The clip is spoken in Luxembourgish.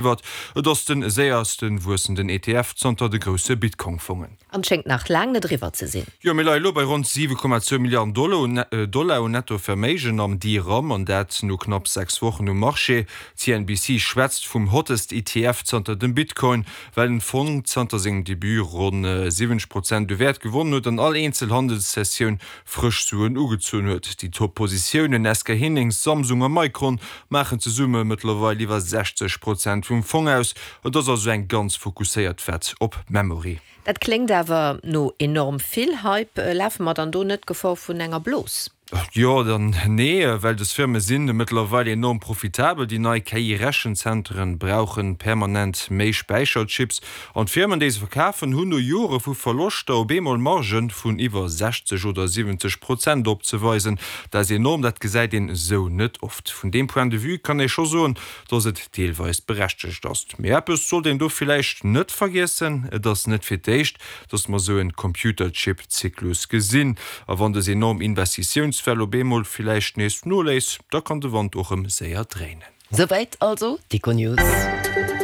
Iwwert. Et ass de séierste wuessenden ETF zanter de grousse Bitcoin-Fongen. An schéngt nach laang net eriwwer ze sinn. Jo, mir leie lo bei ronn 7,2 Milliarden Dollar un Netto-Verméigen am DRAM, an dat no knapp 6 Wochen um Marché. CNBC schwätzt vum hottest ETF zanter dem Bitcoin, well den Fong zanter sengem Debut ronn 70 Prozent u Wäert gewonnen huet an all eenzel Handelssessioun frësch Suen ugezunn huet. Déi Top Positiounen SK Hynix, Samsung a Micron maachen zesumme mëttlerweil iwwer 60 Prozent vum Fong aus. Et ass also eng ganz fokusséiert Wett op Memory. Dat kléngt awer no enorm vill Hype. Lafe mer dann do net d'Gefor vun enger Blos? Jo an nee, well des Firme sinn mëttlerweil enorm profitabel. Déi nei KI-Rechenzentren brauchen permanent méi Späicherchips An d'Firmen, déi se verkafen, hunn no Jore vu Verloschter op eemol Margen vun iwwer 60 oder 70 Prozent opzeweisen. Dat ass enorm, dat gesäit een esou net oft. Vun deem Point de vue kann ee scho soen, dass et deelweis berechtegt ass. Mee eppes sollt een do villäicht net vergiessen, Et ass net fir d'éischt, dass mer esou en Computerchip-Zyklus gesinn. A wann des enorm Investitiounswell op eemol villäicht nees noléisst, da kann de Wand och rëm séier dréinen. Souwäit also d'Econews.